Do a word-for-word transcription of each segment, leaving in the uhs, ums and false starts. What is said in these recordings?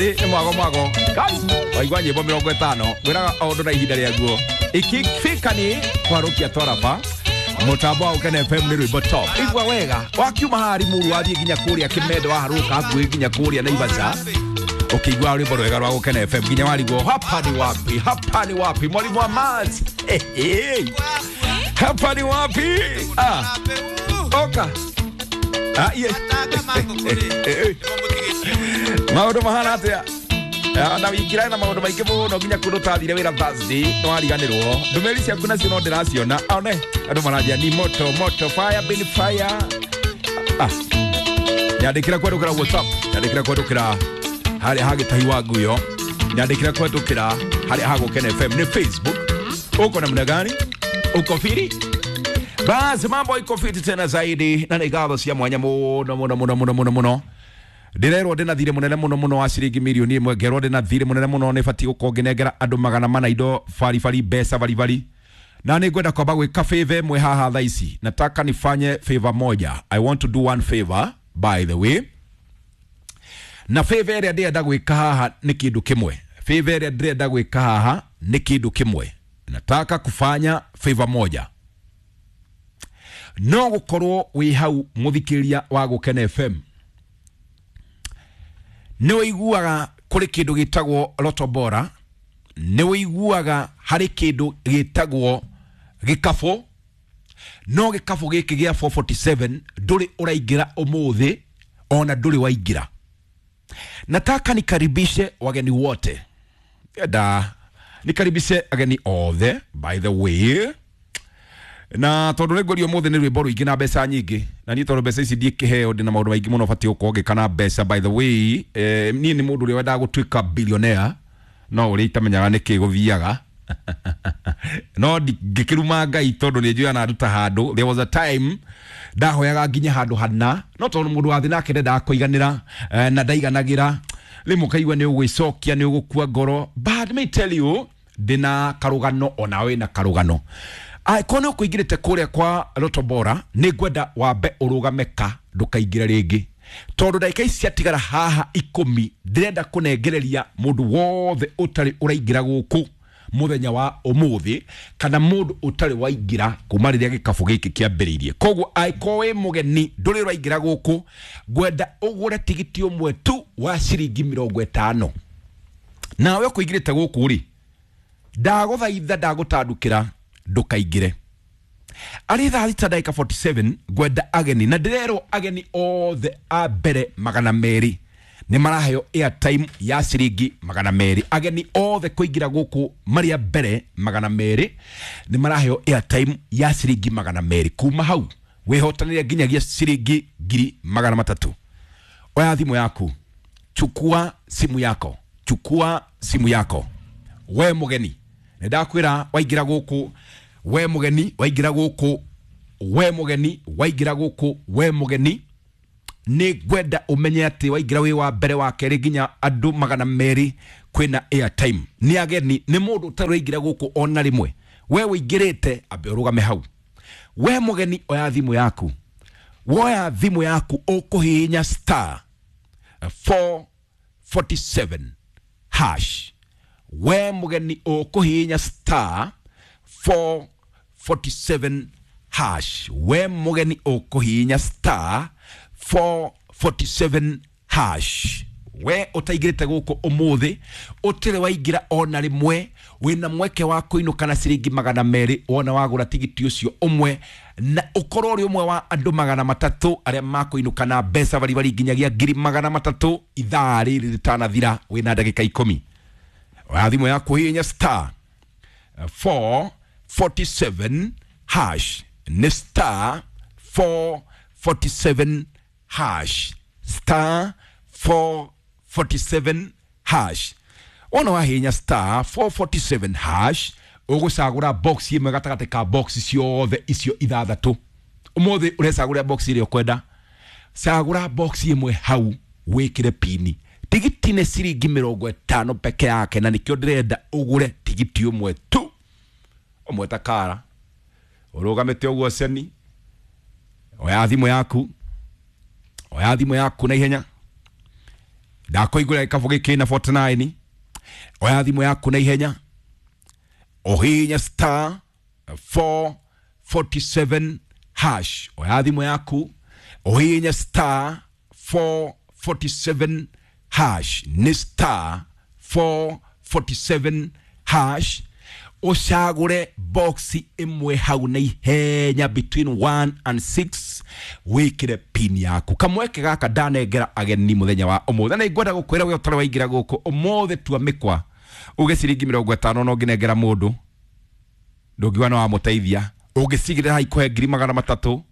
Nĩ mwago mwago waigua nyĩmbo mĩrongo ĩtano ngwĩraga o ũndũ na ihinda rĩaguo ikifika ni kwarũkia twaraba mũtambo wa Gũkena F M nĩ rwĩmbo top. Igua wega wakiuma haha Limuru wathiĩ nginya kũrĩa Kĩmendo waharũka hakuhĩ nginya kũrĩa Naivasha ũkĩigua rwĩmbo rwega rwa Gũkena F M nginya warigwo hapa ni wapi, hapa ni wapi, mwalimu wa maths. Hey, hey. Hapa ni wapi? Ah. Oka. Ah, yeah. Maũndũ mahana atĩa? Na wikira na maũndũ maingĩ mũno nginya kũndũ tathire wĩra Thursday nĩwariganĩrwo. Ndũmĩrĩri ciaku nacio no ndĩraciona. One andũ maranjia ni moto moto fire bin fire. Ah. Nyandĩkĩra kwendũkĩra WhatsApp, nyandĩkĩra kwendũkĩra harĩa ha Gĩtahi wa Nguyo, nyandĩkĩra kwendũkĩra harĩa ha Gũkena F M nĩ Facebook. Uko namna gani? Uko firi? Basi mambo iko fiti tena zaidi na nĩ ngatho cia mwanya mũno mũno mũno mũno mũno mũno. Ndĩrerwo ndĩna thirĩ mũnene mũno mũno wa ciringi mirioni ĩmwe, ngerwo ndĩna thirĩ mũnene mũno nĩ batiĩ gũkorwo ngĩnengera andũ magana mana indo baribari mbeca baribari. Na nĩ ngwenda kwamba gwĩka favor ĩmwe haha thaa ici. Nataka nifanye favor moja. I want to do one favor by the way. Na favor ĩrĩa ndĩrenda gwĩka haha nĩ kĩndũ kĩmwe. Favor ĩrĩa ndĩrenda gwĩka haha nĩ kĩndũ kĩmwe. Nataka kufanya favor moja. No gũkorwo wĩ hau mũthikĩrĩria wa Gũkena F M. Nĩ ũiguaga kũrĩ kĩndũ gĩtagwo Lotto Bora, nĩ ũiguaga harĩ kĩndũ gĩtagwo gĩkabũ, no gĩkabũ gĩkĩ gĩa four forty-seven ndũrĩ ũraingĩra ũmũthĩ ona ndũrĩ waingĩra. Nataka nikaribishe wageni wote. Enda nikaribishe ageni othe by the way. Na tondu nĩ ngũrio ũmũthĩ nĩ rwĩmbo rũingĩ na mbeca nyingĩ, na niĩ tondũ mbeca ici ndiĩkĩheo ndĩna maũndũ maingĩ mũno batiĩ gũkorwo ngĩka na mbeca by the way. Eh, niĩ nĩ mũndũ ũrĩa wendaga gũtuĩka billionaire no ũrĩa itamenyaga nĩkĩ gũthiaga. No ngĩkĩruma Ngai tondũ nĩ njũĩ ananduta handũ. There was a time ndahoyaga nginya handũ hana, no tondũ mũndũ wa thĩ nake ndendaga kũiganĩra, eh, na ndaiganagĩra, rĩmwe ũkaigua nĩ ũgwĩcokia nĩ ũgũkua ngoro. But let me tell you, ndĩna karũgano onawe na karũgano. Angĩkorwo nĩ ũkũingĩrĩte kũrĩa kwa Lotto Bora, nĩ ngwenda wambe ũrũgame ka ndũkaingĩre rĩngĩ, tondũ ndagĩka ici ciatigara haha ikũmi ndĩrenda kũnengereria mũndũ wothe ũtarĩ ũraingĩra gũkũ mũthenya wa ũmũthĩ, kana mũndũ ũtarĩ waingĩra kuma rĩrĩa gĩkabũ gĩkĩ kĩambĩrĩirie. Koguo angĩkorwo wĩ mũgeni ndũrĩ ũraingĩra gũkũ, ngwenda ũgũre tigiti ũmwe tu wa ciringi mĩrongo ĩtano. Nawe ũkũingĩrĩte gũkũ rĩ, ndagũthaitha ndagũtandũkĩra ndũkaingĩre. Arĩ thaa thita ndagĩka forty-seven ngwenda ageni, na ndĩrerwo ageni othe a mbere magana merĩ nĩ maraheo airtime ya ciringi magana merĩ. Ageni othe kũingĩra gũkũ marĩ a mbere magana merĩ nĩ maraheo airtime ya ciringi magana merĩ. Kuma hau wĩhotanĩre nginyagia ciringi ngiri magana matatũ. Oya thimũ yaku, chukua simu yako, chukua simu yako. We mũgeni nĩ ndakwĩra waingĩra gũkũ, we mũgeni waingĩra gũkũ, we mũgeni waingĩra gũkũ, we mũgeni nĩ ngwenda ũmenye atĩ waingĩra wĩ wa mbere wa kerĩ nginya andũ magana merĩ kwĩna airtime. Nĩ ageni, nĩ mũndũ ũtarĩ waingĩra gũkũ ona rĩmwe. We ũingĩrĩte ambe ũrũgame hau. We mũgeni oya thimũ yaku, woya thimũ yaku ũkũhihinya star four forty-seven hash. We mũgeni ũkũhihinya star four forty-seven hash. We mũgeni ũkũhihinya star four forty-seven hash. We ũtaingĩrĩte gũkũ ũmũthĩ, ũtirĩ waingĩra ona rĩmwe, wĩna mweke wa kũinũka na ciringi magana merĩ wona wagũra tigiti ũcio ũmwe, na ũkorwo ũrĩ ũmwe wa andũ magana matatũ arĩa makũinũka na mbeca baribari nginyagia ngiri magana matatũ ithaa rĩrĩ rĩtanathira, wĩna ndagĩka ikũmi. Oya thimũ yaku hihinya star four forty-seven hash. Nĩ star four forty-seven hash. Star four forty-seven hash. Wona wahihinya star four forty-seven hash, ũgũcagũra box ĩmwe gatagatĩ ka box ciothe icio ithathatũ. Ũmũthĩ ũrecagũra box ĩrĩa ũkwenda. Cagũra box ĩmwe hau wĩkĩre pini. Tigiti nĩ ciringi mĩrongo ĩtano peke yake, na nĩkĩo ndĩrenda ũgũre tigiti ũmwe tu. Ũmwe ta kara ũrũgamĩte ũguo ceni. Oya thimũ yaku, oya thimũ yaku na ihenya. Ndakũigũra gĩkabũ gĩkĩ na forty-nine. Oya thimũ yaku na ihenya, ũhihinye star four forty-seven hash. Oya thimũ yaku ũhihinye star four forty-seven hash, nĩ star four forty-seven hash. Ũcagũre box ĩmwe hau na ihenya between one and six, wĩkĩre pin yaku. Kamweke gaka ndanengera ageni mũthenya wa ũmũthĩ, na nĩngwenda gũkwĩra we ũtarĩ waingĩra gũkũ ũmũthĩ, tua mĩkwa uge ciringi mĩrongo ĩtano no ngĩnengera mũndũ ndũngiuga no wamũteithia. Ũngĩcigĩrĩra hai kũhe ngiri magana matatũ,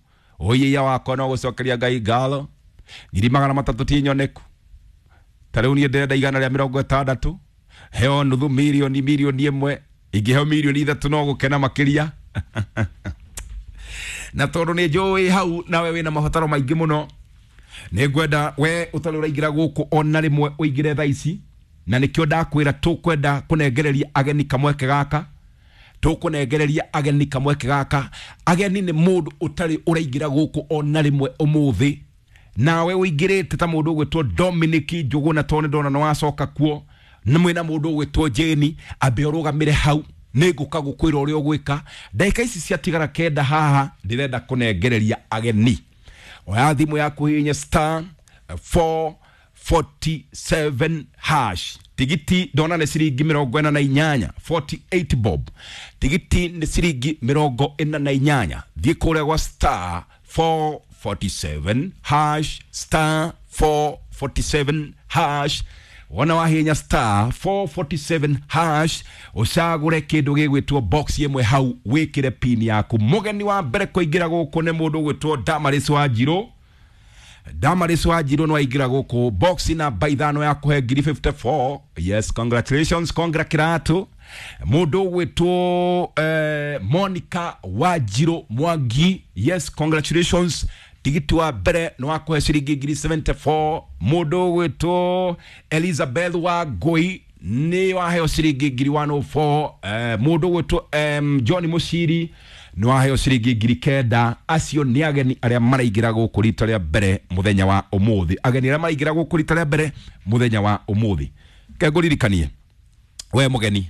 ũiya wakwa no gũcokeria Ngai ngatho. Ngiri magana matatũ ti nyoneku, ta rĩu niĩ ndĩrenda igana rĩa mĩrongo ĩtandatũ, heo nuthu mirioni, mirioni ĩmwe, ingĩheo mirioni ithatũ no gũkena makĩria. Na tondũ nĩ njũĩ hau nawe wĩna mabataro maingĩ mũno, nĩ ngwenda we ũtarĩ ũraingĩra gũkũ ona rĩmwe ũingĩre thaa ici, na nĩkĩo ndakwĩra tũkwenda kũnengereria ageni kamweke gaka, tũkũnengereria ageni kamweke gaka. Ageni nĩ mũndũ ũtarĩ ũraingĩra gũkũ ona rĩmwe ũmũthĩ, nawe ũingĩrĩte ta mũndũ ũgwĩtwo Dominic Njũgũna, tondũ nĩ ndona nĩ wacoka kuo, na mwĩna mũndũ ũgwĩtwo Jane, ambe ũrũgamĩre hau, nĩ ngũka gũkwĩra ũrĩa ũgwĩka. Ndagĩka ici ciatigara kenda haha, ndĩrenda kũnengereria ageni. Oya thimũ yaku hihinya star four forty-seven hash. Tigiti ndona nĩ ciringi mĩrongo ĩna na inyanya, forty-eight bob. Tigiti nĩ ciringi mĩrongo ĩna na inyanya. Thiĩ kũrĩa gwa star four forty-seven hash, star four forty-seven hash. Wona wahinya star four forty-seven hash, ũcagũre kĩndũ gĩgwĩtwo box ĩmwe hau, wĩkĩre pin yaku. Mũgeni wa mbere kũingĩra gũkũ nĩ mũndũ ũgwĩtwo Damaris Wanjirũ. Damaris Wanjirũ nĩ waingĩra gũkũ box namba ithano ya kũhe ngiri fifty-four. Yes, congratulations, congra kĩratũ. Mũndũ ũgwĩtwo, eh, Monica Wanjirũ Mwangi, yes, congratulations. Tigiti wa mbere nĩ wa kũhe ciringi ngiri seventy-four. Mũndũ ũgwĩtwo Elizabeth Wangũi nĩ waheo ciringi ngiri one oh four. Eh, mũndũ ũgwĩtwo, em, John Mũciri nĩ waheo ciringi ngiri kenda. Acio nĩ ageni arĩa maraingĩra gũkũ rita rĩa mbere mũthenya wa ũmũthĩ. Ageni arĩa maraingĩra gũkũ rita rĩa mbere mũthenya wa ũmũthĩ. Ke ngũririkanie we mũgeni,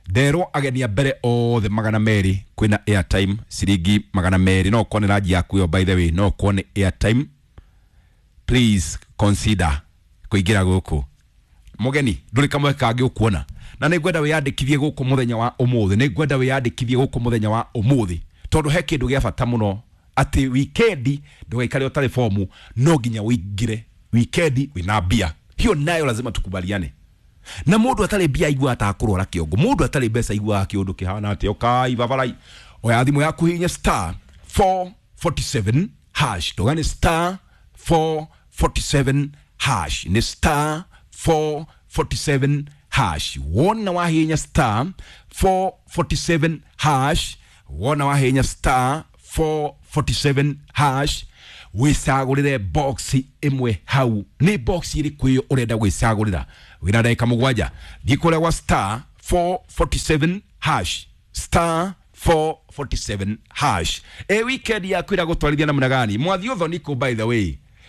nderwo ageni a mbere othe magana merĩ kwĩna airtime ciringi magana merĩ. No ũkorwo nĩ ranji yaku ĩyo, by the way, no ũkorwo nĩ airtime. Please consider kũingĩra gũkũ. Mũgeni, ndũrĩ kamwe kangĩ ũkuona, na nĩ ngwenda wĩyandĩkithie gũkũ mũthenya wa ũmũthĩ. Nĩ ngwenda wĩyandĩkithie gũkũ mũthenya wa ũmũthĩ, tondũ he kĩndũ gĩa bata mũno, atĩ wikendi ndũgaikare ũtarĩ fomu, no nginya ũingĩre wikendi wĩna mbia. Hiyo nayo lazima tukubaliane. Na mũndũ atarĩ mbia aiguaga ta akũrwara kĩongo, mũndũ atarĩ mbeca aiguaga kĩũndũ kĩhana atĩa. Ũkai babarai, oya thimũ yaku hihinya star four forty-seven hash. Ndũgane star four forty-seven hash, nĩ star four forty-seven hash. Wona wahihinya star four forty-seven hash, wona wahihinya star four forty-seven hash, wĩcagũrĩre box ĩmwe hau. Nĩ box ĩrĩkũ ĩyo ũrenda gwĩcagũrĩra? Wĩna ndagĩka mũgwanja, thiĩ kũrĩa gwa star four forty-seven hash, star four forty-seven hash. E weekend yaku ĩragũtwarithia namna gani? Mwathi ũthoni kũ, by the way?